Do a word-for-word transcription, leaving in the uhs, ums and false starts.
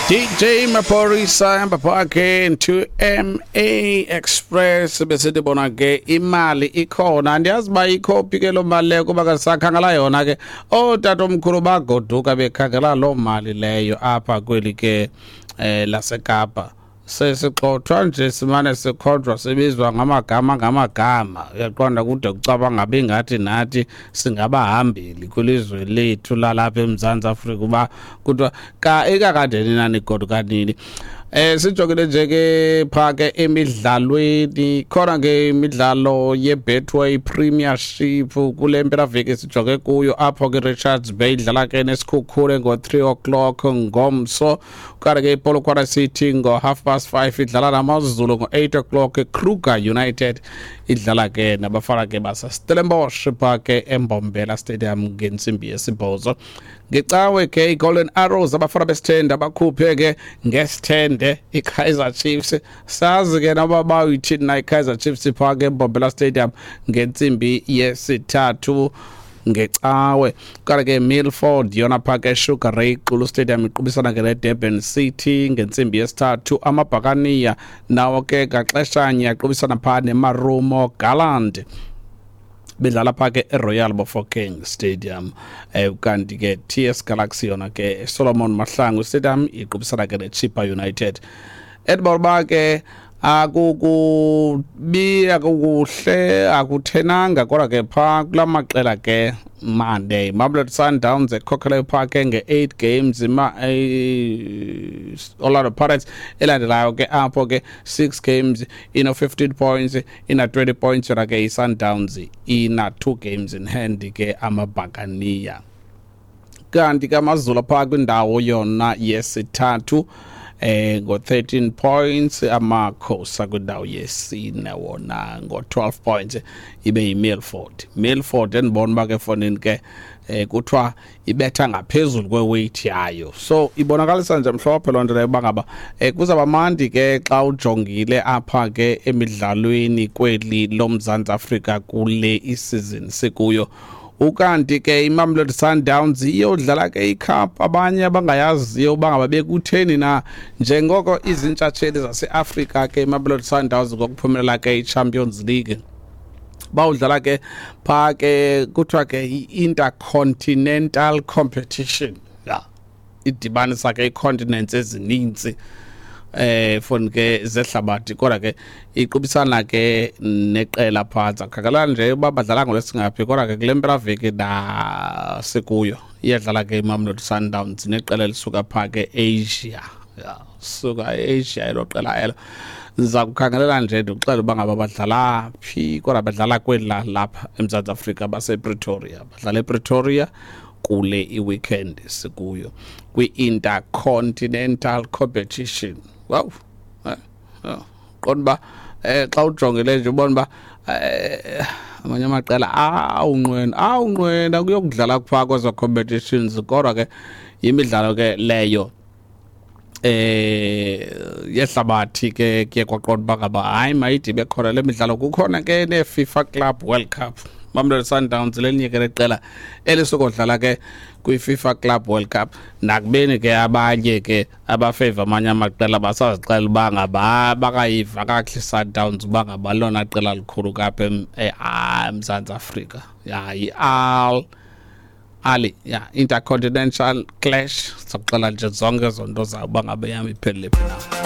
D J Maphorisa hamba phakhe to M A Express. Besithi bona ke imali ikhona, andiyazi uba ikhophi ke loo mali leyo, kuba kasakhangela yona ke. Ootatomkhulu bagoduka bekhangela loo mali leyo apha kweli ke eh laseKapa. Sesixothwa nje, simane sikhonjwa, sibizwa ngamagama ngamagama, uyaqonda, kude kucaba ngabe ingathi nathi singabahambeli kwilizwe lethu lalapha eMzantsi Afrika, uba kuthiwa ka ikakade nina nigoduka nini. Eh sijongile nje ke pha ke emidlalweni, khona ke imidlalo yeBetway Premiership kule mpelaveki sijonge kuyo, apho ke Richards Bay idlala ke neSikhukhune ngo-three o'clock ngomso, kanti ke iPolokwane City ngo-half past five idlala naMaZulu, ngo-eight o'clock Kruger United idlala ke nabafana ke baseStellenbosch pha ke eMbombela Stadium ngentsimbi yesibhozo. Ngecawe ke iGolden Arrows, abafana besithende, abakhuphe ke ngesithende iKaizer Chiefs, sazi ke naba bayithini na iKaizer Chiefs, pha ke eMbombela Stadium ngentsimbi yesithathu ngecawe. Kanti ke Milford yona pha ke Sugar Ray Xulu Stadium iqubisana ke neDurban City ngentsimbi yesithathu. Amabhakaniya nawo ke ngaxeshanye aqubisana pha neMarumo Gallant bedlala pha ke eRoyal Bafokeng Stadium. eh kanti ke T S Galaxy yona ke Solomon Mahlangu Stadium iqubisana ke neChippa United. Edinburgh ke akukubi, akukuhle, akuthenanga, kodwa ke phaa kula maqela ke Monday, Mamelodi Sundowns ekhokhele phaa ke nge-eight games, ima eh, Orlando Pirates elandelayo ke apho ke six games, ino fifteen points, ina twenty points yona ke i-Sundowns, ina two games in hand ke amaBhakaniya. Kanti ke AmaZulu phaa kwindawo yona yesithathu eh ngo thirteen points, Amakhosi kwindawo yesine wona ngo twelve points, ibe yiMilford. Milford endibona uba ke fonini ke eh kuthiwa ibetha ngaphezulu kweweight yayo, so ibonakalisa nje mhlophe loo nto leyo uba ngaba eh kuzawuba mandi ke xa ujongile apha ke emidlalweni kweli loMzantsi Afrika kule isizini sikuyo. Ukanti ke iMamelodi Sundowns iyodlala ke icup abanye abangayaziyo uba ngaba bekutheni na, njengoko izintshatsheli zaseAfrika ke iMamelodi Sundowns ngokuphumelela ke iChampions League, bawudlala ke pha ke kuthiwa ke i-intercontinental competition ya idibanisa ke ii-continents ezininzi eh foni ke zehlabathi, kodwa ke iqubisana ke neqela phantsi khangela nje uba badlala ngolwesingaphi. Kodwa ke kule mpelaveki nasikuyo iyadlala ke iMamelodi Sundowns neqela elisuka phaa ke Asia, ya suka e-Asia elo qela elo. Ndiza kukhangelela nje ndikuxela uba ngaba badlala phi, kodwa badlala kweli lapha eMzantsi Afrika, basePretoria, badlala ePretoria kule i-weekend sikuyo kwi-intercontinental competition. Wow, eh, eh, qonda uba eh xa ujongile nje ubona uba eh amanye amaqela awunqwena awunqwena kuyokudlala kuphaa kwezo competitions, kodwa ke yimidlalo ke leyo eh yehlabathi ke. Kuye kwaqonda uba ngaba hayi, mayithi bekhona le midlalo, kukhona ke ne-FIFA Club World Cup. Mamelodi Sundowns lelinye ke leqela elisukodlala ke kwi-FIFA Club World Cup, nakubeni ke abanye ke abafeva amanye amaqela basazixela uba ngaba bakayiva kakuhle Sundowns uba ngaba lona qela likhulu kapha eMzantsi Afrika. Ya, yi-Al Ahly ya Intercontinental Clash, sakuxela nje zonke ezo nto zawo uba ngabe yam iphelele phi na.